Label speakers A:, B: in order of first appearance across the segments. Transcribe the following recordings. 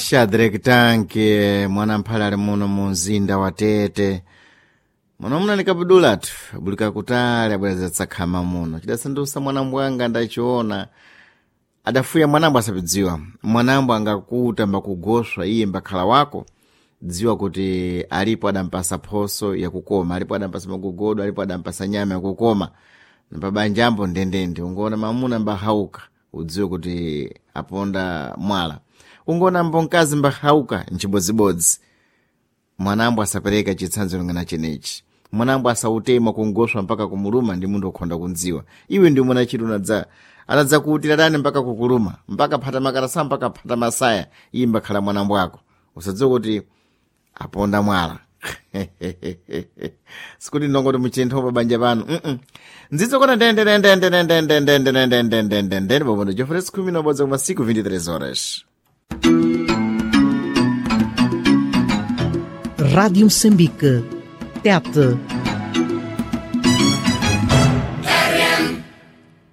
A: Shadrack Tanke mwanamphale ali muno mu mzinda wa Tete. Muno muna nikabudulatu bulika kutali abwereza tsakhama muno. Chidasandusa mwanambwanga ndachiona. Adafuya mwanambo asapidziwa. Mwanambo angakuta mbakugoswa iye mbakhala wako. Dziwa kuti alipo adampasa phoso yakukoma, alipo adampasa magogodo, alipo adampasa nyama yakukoma. Napabanjambo ndendende ungoona mamuna mbahauka udziwe kuti aponda mwala. Ungoona mbonkazi mbahauka nchibodzibodzi. Mwanambo asapereka chitsanzo lingana chenechi. Mwanambo asautema kungoswa mpaka kumuluma ndi munthu okhonda kundziwa. Iwe ndi mwana chitu unadza anadza kuutira dani mpaka kukuluma, mpaka phata makarasa mpaka phata masaya, iye mbakhala mwanambo ako. Usadziwe kuti aponda mwala. Sikuti ndongoti muchinthu pabanja pano. Ndzidzo kona ndende bobondo jofres 11 kuma 5 23 horas.
B: Rádio Moçambique. Tete.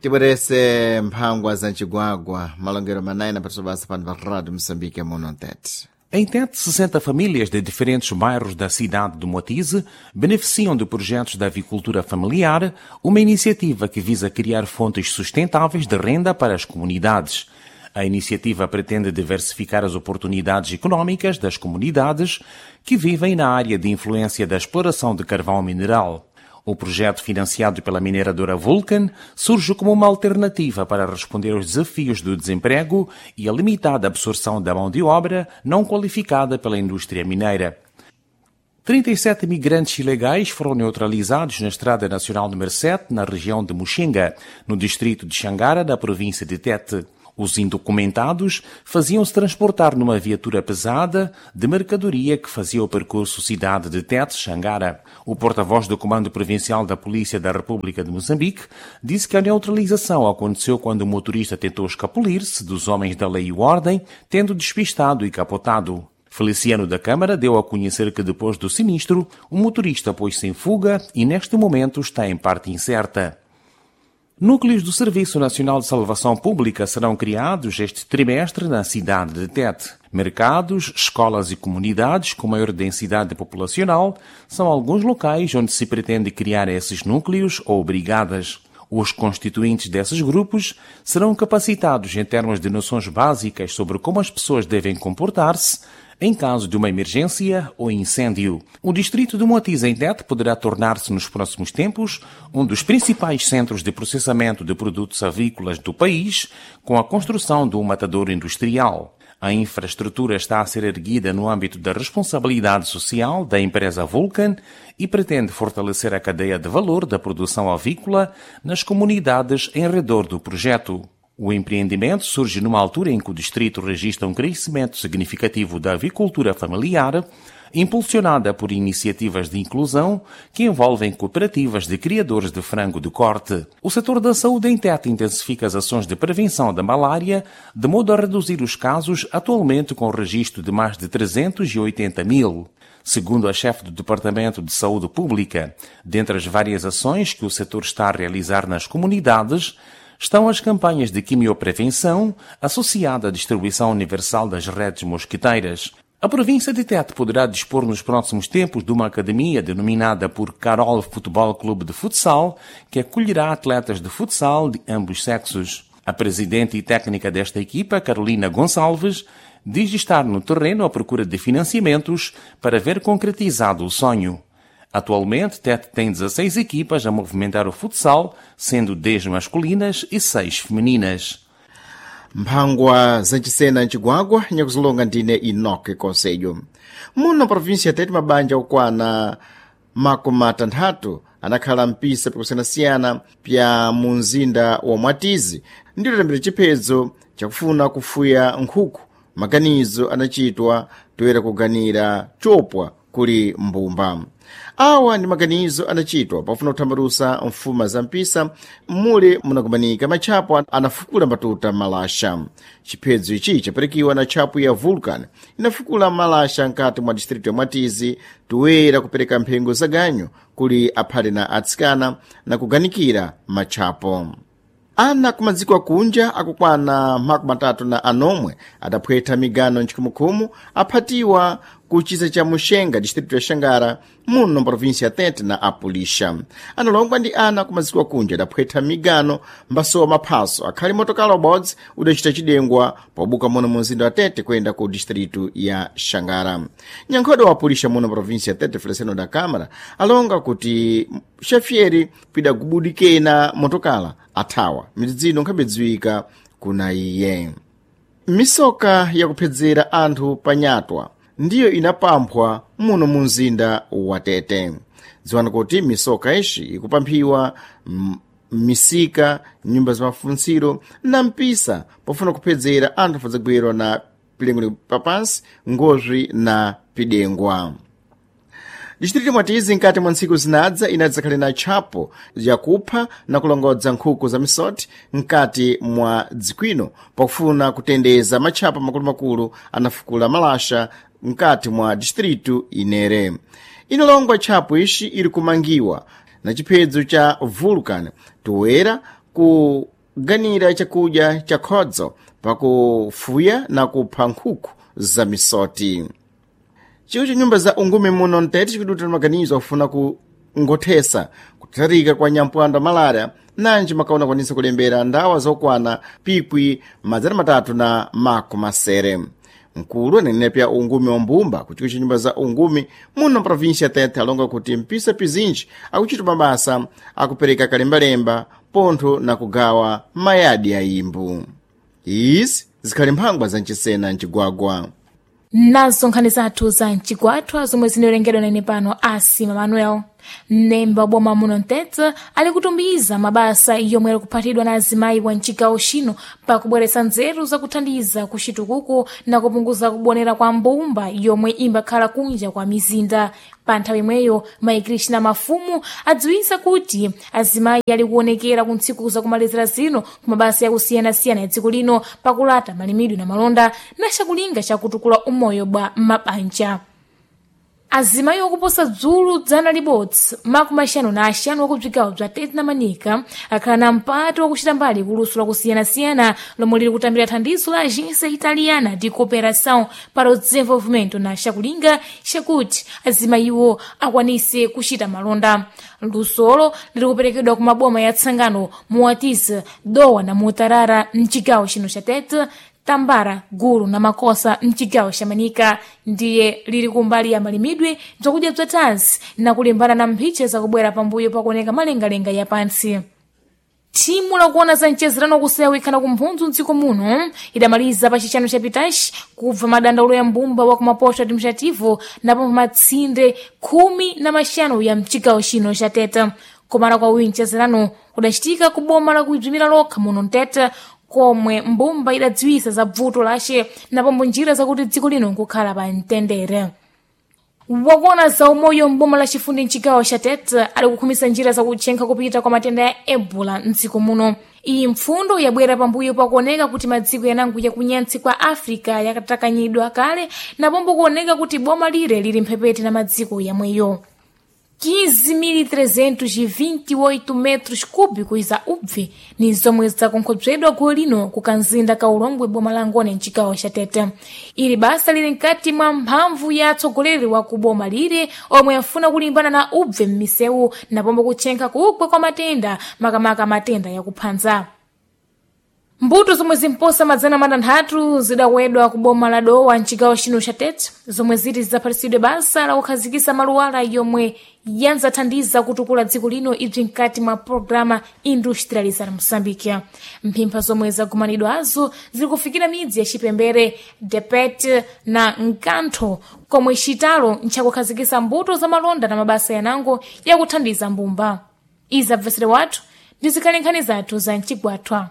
A: Tibwerese mphangwa za mchigwagwa malongero manai napatso basa pano pa Rádio Moçambique muno Tete.
C: Em Tete, 60 famílias de diferentes bairros da cidade de Moatize beneficiam de projetos da avicultura familiar, uma iniciativa que visa criar fontes sustentáveis de renda para as comunidades. A iniciativa pretende diversificar as oportunidades econômicas das comunidades que vivem na área de influência da exploração de carvão mineral. O projeto, financiado pela mineradora Vulcan, surge como uma alternativa para responder aos desafios do desemprego e a limitada absorção da mão de obra não qualificada pela indústria mineira. 37 migrantes ilegais foram neutralizados na Estrada Nacional número 7, na região de Muxenga, no distrito de Xangara, da província de Tete. Os indocumentados faziam-se transportar numa viatura pesada de mercadoria que fazia o percurso cidade de Tete-Xangara. O porta-voz do Comando Provincial da Polícia da República de Moçambique disse que a neutralização aconteceu quando o motorista tentou escapulir-se dos homens da lei e ordem, tendo despistado e capotado. Feliciano da Câmara deu a conhecer que depois do sinistro, o motorista pôs-se em fuga e neste momento está em parte incerta. Núcleos do Serviço Nacional de Salvação Pública serão criados este trimestre na cidade de Tete. Mercados, escolas e comunidades com maior densidade populacional são alguns locais onde se pretende criar esses núcleos ou brigadas. Os constituintes desses grupos serão capacitados em termos de noções básicas sobre como as pessoas devem comportar-se em caso de uma emergência ou incêndio. O distrito de Moatize em Tete poderá tornar-se nos próximos tempos um dos principais centros de processamento de produtos avícolas do país, com a construção de um matadouro industrial. A infraestrutura está a ser erguida no âmbito da responsabilidade social da empresa Vulcan e pretende fortalecer a cadeia de valor da produção avícola nas comunidades em redor do projeto. O empreendimento surge numa altura em que o distrito registra um crescimento significativo da avicultura familiar, impulsionada por iniciativas de inclusão que envolvem cooperativas de criadores de frango de corte. O setor da saúde em Tete intensifica as ações de prevenção da malária, de modo a reduzir os casos, atualmente com o registro de mais de 380 mil. Segundo a chefe do Departamento de Saúde Pública, dentre as várias ações que o setor está a realizar nas comunidades, estão as campanhas de quimioprevenção associada à distribuição universal das redes mosquiteiras. A província de Tete poderá dispor nos próximos tempos de uma academia denominada por Carol Futebol Clube de Futsal, que acolherá atletas de futsal de ambos sexos. A presidente e técnica desta equipa, Carolina Gonçalves, diz estar no terreno à procura de financiamentos para ver concretizado o sonho. Atualmente, Tete tem 16 equipas a movimentar o futsal, sendo 10 masculinas e 6 femininas.
A: Mphangwa zachisena mchigwagwa nyakuzilonga ndine Enoque Conselho. Muno província Tete mabanja okwana makumi atanthatu anakhala mpisa pikusiyanasiyana pya mu mzinda wa Mwatizi ndilo lembera chiphedzo chakufuna kufuya nkhuku. Maganizo anachitwa toyera kuganira chopwa kuli mbumba. Awa ndi maganizo anachitwa pofuna kuthambalusa mfuma za mpisa mule munakumanika matchapo anafukula matuta malasha. Chiphedzo ichi chaperekiwa na tchapo ya Vulcan inafukula malasha nkati mwa distritu ya Mwatizi toyera kupereka mphengo za ganyu kuli aphale na atsikana na kuganikira matchapo. Ana kumadziko akunja akukwana 36 adaphwetha migano mchikhumukhumu aphatiwa ku chisa cha Muxenga, distrito ya Xangara, muno província ya Tete na apulixa. Analongwa ndi ana kumadziko akunja adaphwetha migano mbasowa maphaso akhali motokala ubodzi udacita cidengwa pobuka muno mu mzinda wa Tete kuyenda ku distrito ya Xangara. Nyankhodo wa apulixa muno província ya Tete, Feliciano da Câmara, alonga kuti xafieri pidagubudikena motokala athawa midzidzino nkhabedziwika kuna iye. Misoka yakuphedzera anthu panyatwa ndiyo inapamphwa muno mu mzinda wa Tete. Dziwani kuti misoka ixi ikupamphiwa misika, nyumba za mafuntsiro na mpisa pofuna kuphedzera anthu afadzagwirwa na pilengo papansi, ngozwi na pidengwa. Distrito mwatizi nkati mwa ntsiku zinadza inadzakhale na tchapo yakupha na kulongodza nkhuku za misoti nkati mwa dzikwino pakufuna kutendeza matchapa makulumakulu anafukula malasha nkati mwa distritu inere. Inalongwa tchapo ixi iri kumangiwa na chiphedzo cha Vulcan toera kuganira chakudya cha khodzo pakufuya na kupha nkhuku za misoti. Chiwo cha nyumba za ungumi muno mtete chikuduta maganizo akufuna kungothesa kutharika kwa nyampwando malaria nanji makaona kwanisa kulembera ndawa zokwana pikwi 370. Mkulu anenepya ungumi wa mbumba ku chiko cha nyumba za ungumi muno província Tete alonga kuti mpisa pizinji akuchita mabasa akupereka kalembalemba pontho na kugawa mayadi a imbu. Izi zikhali mphangwa za mchisena mcigwagwa.
D: Nazo nkhani zathu za mcigwathwa zomwe zinawerengedwa nene pano asima Manuel. Mnemba wa boma muno mtete ali kutumiza mabasa yomwe ali kuphatidwa na azimayi wa mcigawo chino pakubweretsa nzeru zakuthandiza kuchitukuko na kupunguza kubonera kwa mbumba yomwe imbakhala kunja kwa mizinda. Pa nthawi imweyo mayi Krishna Mafumu adziwisa kuti azimayi ali kuonekera ku ntsiku zakumalizira zino ku mabasa yakusiyanasiyana ya dziko lino pakulata malimidwe na malonda na chakulinga chakutukula umoyo bwa mabanja. Azimayi okuposa dzulu 100 55 wakubzigawo bza Tete na Manika akhala na mpato wakuchita mbali kuluso lakusiyanasiyana lomwe lili kutambira thandizo la Agência Italiana de Cooperação para o Desenvolvimento na chakulinga chakuti azimayiwo akwanise kuchita malonda. Lusolo lili kuperekedwa ku maboma ya Tsangano, Muatiza, Dowa na Mutarara mchigawo chino cha Tete, Tambara, Gulu na Makosa mchigawo cha Manika. Ndiye lili kumbali ya malimidwe, bzakudya bza tansi na kulimbana na mphiche zakubwera pambuyo pakuoneka malengalenga ya pansi. Thimu lakuona za mchezerano kusewikana kumphunzu mdziko muno idamaliza pa chixanu chapitachi kubva madandaulo ya mbumba wa kumapoto administrativo napo matsinde 15 ya mchigawo chino cha Tete. Komala kwa uyu mchezerano kudachitika ku boma la kuidzumira lokha muno mtete komwe mbumba idadziwisa za bvuto lace napombo njira zakuti dziko lino nkukhala pa mtendere. Wakuona za umoyo mboma la chifundi mchigawo cha Tete ali kukhumisa njira zakutchenkha kupita kwa matenda ya Ebola mdziko muno. Iyi mpfundo yabwera pambuyo pakuoneka kuti madziko yanango yakunyantsi kwa Africa yakatakanyidwa kale napombo kuoneka kuti boma lire lili mphepete na madziko yamweyo. 15.328 metros cúbicos za ubve ni zomwe zakonkhobzedwa gulu lino ku kanzinda ka Ulongwe boma la Ngone mchigawo cha Tete. Ili basa lili mkati mwa mphamvu ya atsogoleri wa ku boma lire omwe afuna kulimbana na ubve m'misewu napombo kutchenkha kugwa kwa matenda, makamaka matenda yakuphanza. Mbuto zomwe zimposa 600 zidakwedwa ku boma la Dowa mchigawo chino cha Tete zomwe ziti zidzaphatitsidwe basa la kukhazikitsa maluwala yomwe yanzathandiza kutukula dziko lino ibzi mkati mwa programa Industrializar Moçambique. Mphimpha zomwe zagumanidwazo zili kufikira midzi ya Chipembere, Depet na Nkantho komwe chitalo nchakukhazikitsa mbuto za malonda na mabasa yanango yakuthandiza mbumba. Izi abvesere wathu ndi zikhale nkhani zathu za mchigwathwa.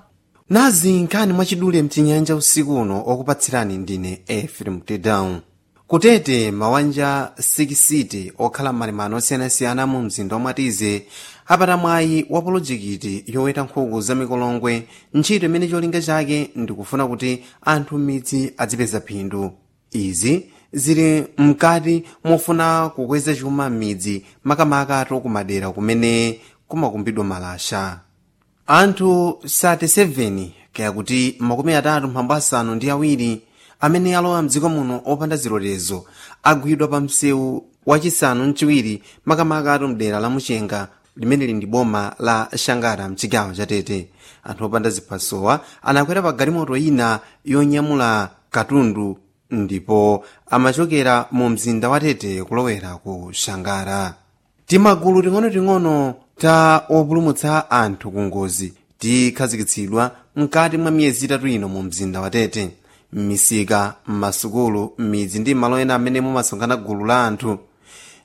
E: Nazi nkhani mwachidule mchinyanja usiku uno, okupatsirani ndine Efrem Tedown. Kutete mawanja 6 okhala m'malimano osiyanasiyana mu mzinda wamwatize apata mwayi wa polojekiti yoweta nkhuku za mikolongwe, ntchito imene cholinga chake ndikufuna kuti anthu m'midzi adzipeza phindu. Izi zili mkati mofuna kukweza chuma m'midzi, makamaka kumadera kumene kumakumbidwa malasha. Anthu 37, kaya kuti 37 amene alowa mdziko muno opanda zilolezo agwidwa pa msewu wachisanu mchiwiri, makamaka atu mdera la Muchenga limeneli ndi boma la Shangara mchigawo cha Tete. Anthu opanda ziphasowa anakwera pa galimoto ina yonyamula katundu ndipo amachokera mu mzinda wa Tete kulowera ku Shangara. Timagulu ting'onoting'ono ta opulumutsa anthu ku ngozi tikhazikitsidwa mkati mwa miyezi 3 ino mu mzinda wa Tete. M'misika, m'masukulu, m'midzi ndi malo ena amene mumasonkhana gulu la anthu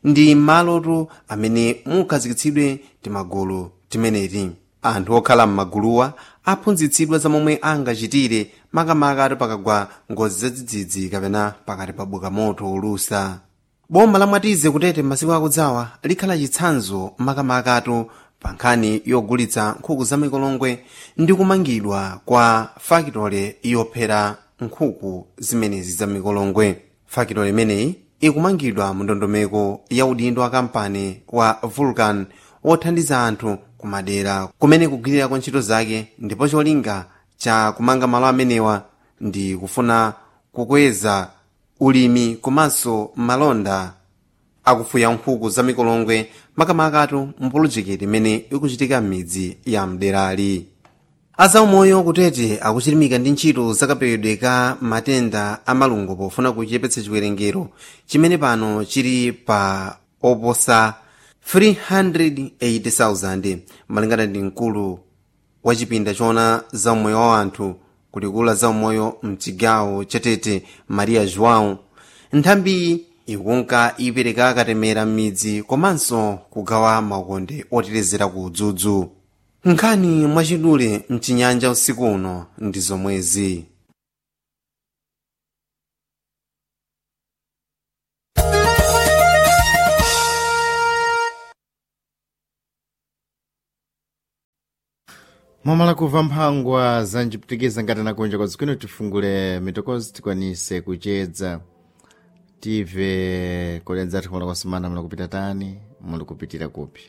E: ndi malotu amene mukhazikitsidwe timagulu timeneti. Anthu okhala m'maguluwa aphunzitsidwa za momwe angachitire makamaka ati pakagwa ngozi zadzidzidzi kapena pakati pabuka moto olusa. Boma la Mwatize kutete masiku akudzawa likhala chitsanzo makamakatu pa nkhani yogulitsa nkhuku za mikolongwe ndi kumangidwa kwa fakitole yophera nkhuku zimenezi za mikolongwe. Fakitole imeneyi ikumangidwa mu ndondomeko ya udindo wa kampani wa Vulcan wothandiza anthu kumadera kumene kugwirirako ntchito zake, ndipo cholinga cha kumanga malo amenewa ndi kufuna kukweza ulimi komanso malonda akufuya nkhuku za mikolongwe, makamakatu mpolojekiti imene ikuchitika m'midzi ya mderali. Azaumoyo kutete akuchilimika ndi ntchito zakapewedwe ka matenda amalungo pofuna kuchepetsa chiwerengero chimene pano chili pa oposa 380,000. Malingana ndi mkulu wa chipinda choona zaumoyo wa anthu kulikula zaumoyo mchigawo chatete, Maria João, nthambi ikunka ipereka katemera m'midzi komanso kugawa maukonde otetezera ku udzudzu. Nkhani mwachidule mchinyanja usiku uno ndi zomwezi.
A: Mwamala kuva mphangwa zanjipitikiza ngati nakunja kwa zikwino, tifungule mitokozi tikwanise kuchedza, tive kolenza ati kumala kwasimana muli kupita tani, muli kupitira kupi.